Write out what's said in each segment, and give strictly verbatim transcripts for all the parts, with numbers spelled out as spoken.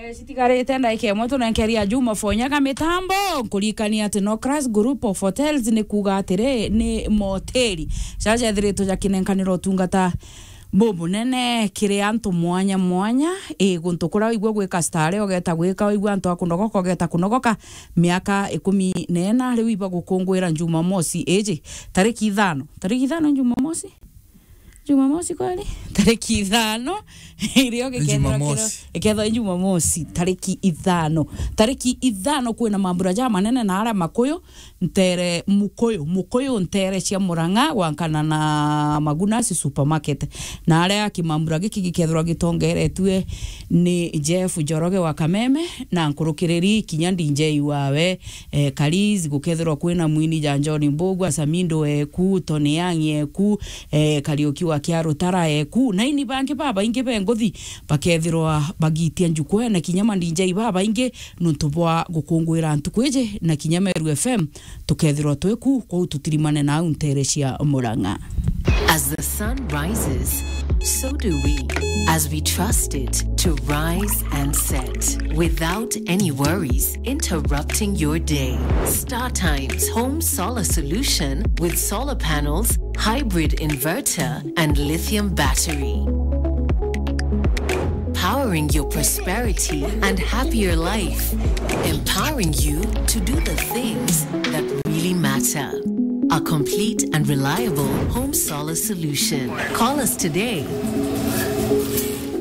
Eh, citigarite ndaika imwe tunenkeria Juma Fonyaga mitambo, nkuririkania ati no Class Group of Hotels ni kuuga atiri ni moteri jaja jethiritwe jakinenkanira utungata bubunene kiri antu mwanya mwanya. I guntu kuria waigua gwika stare, ugeta gwika, waigua antu a kunogoka, ugeta kunogoka. Miaka ikumi na ina riu iba gukunguira Jumamosi iji, tariki ithano. Tariki ithano Jumamosi? Jumamosi kweli? Tariki ithano. Irio gikethirwa kiro-, Jumamosi. Ikethirwa i Jumamosi, tariki ithano. Tariki ithano kwina mambura ja manene na aria makuyu, ntere mukuyu, mukuyu ntere cia Murang'a gwankana na Magunasi Supermarket. Na aria kimambura giki gikethirwa gitongeretue ni Jeff Njoroge wa Kameme na nkurukiriri kinya D J wawe, eh, Kaliz, gukethirwa kwina mwini ja John Mbugua, Samindo eku, Tony Young eku, eh, Kariuki wa Kiarutara eku, na ini bangi babaingi be nguthi bakethirwa bagitia njukwene, kinya ma D J babaingi nuntu bwa gukunguira ntuku iji, na kinya Meru F M tukethirwa twi ku, kwou tutirimane nau ntere cia Murang'a. As the sun rises, so do we, as we trust it to rise and set without any worries interrupting your day. Star Times Home Solar Solution with solar panels, hybrid inverter, and lithium battery. Powering your prosperity and happier life. Empowering you to do the things that really matter. A complete and reliable home solar solution. Call us today.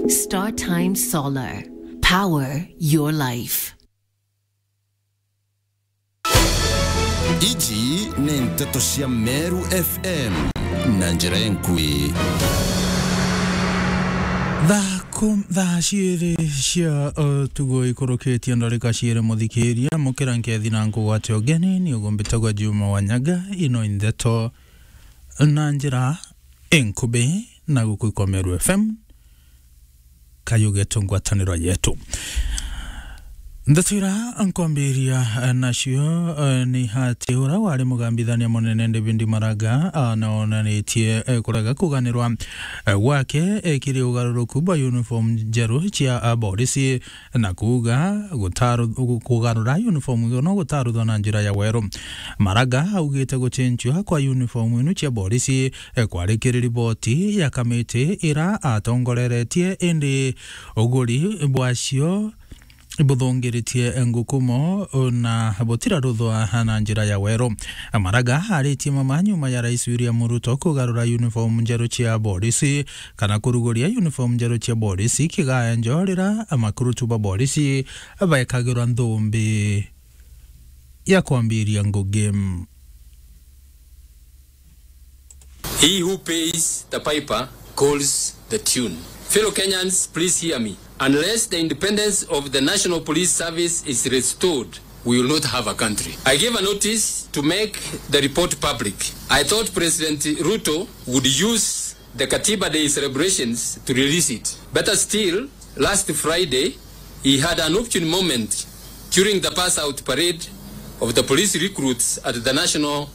Star Time Solar. Power your life. Iji ni nteto cia Meru F M na njira enkui. Thaa kum-, thaa ciiri cia utuku ikurukitie ndarika ciiri, muthikiria, mukira nkethi na nkugwate ugeni, ni ugumbitagwa Juma Wanyaga. Ino i ndeto na njira inkubi na guku kwa Meru F M. Kayu getu, ngwataniro yetu. Ndeto ira nkwambiria, eh, nacio, eh, ni ati ura wari mugambithania munene David Maraga, ah, naonanitie, eh, kurega kuganirwa, eh, gwake, eh, kiri ugaruruku bwa uniform njeru cia, ah, borisi, na kuuga gutaru-, gu-, kugarura uniform ino gutaruthwa na njira ya weru. Maraga augite gucenjua kwa uniform inu cia borisi, eh, kwari kiri riboti ya kamiti ira atongoreretie, indi uguri bwacio ibuthungiritie ngukumo na butiraruthwa na njira ya weru. Maraga aritie mama nyuma ya Rais William Ruto kugarura uniform njeru cia borisi, kana kuruguria uniform njeru cia borisi kigaenjo rira makurutu ba borisi bekagirwa nthumbi ya kwambiria ngugi. He who pays the piper calls the tune. Fellow Kenyans, please hear me. Unless the independence of the National Police Service is restored, we will not have a country. I gave a notice to make the report public. I thought President Ruto would use the Katiba Day celebrations to release it. Better still, last Friday, he had an opportune moment during the pass out parade of the police recruits at the National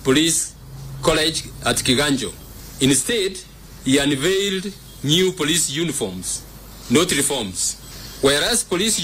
Police College at Kiganjo. Instead, he unveiled new police uniforms, not reforms. Whereas police uniforms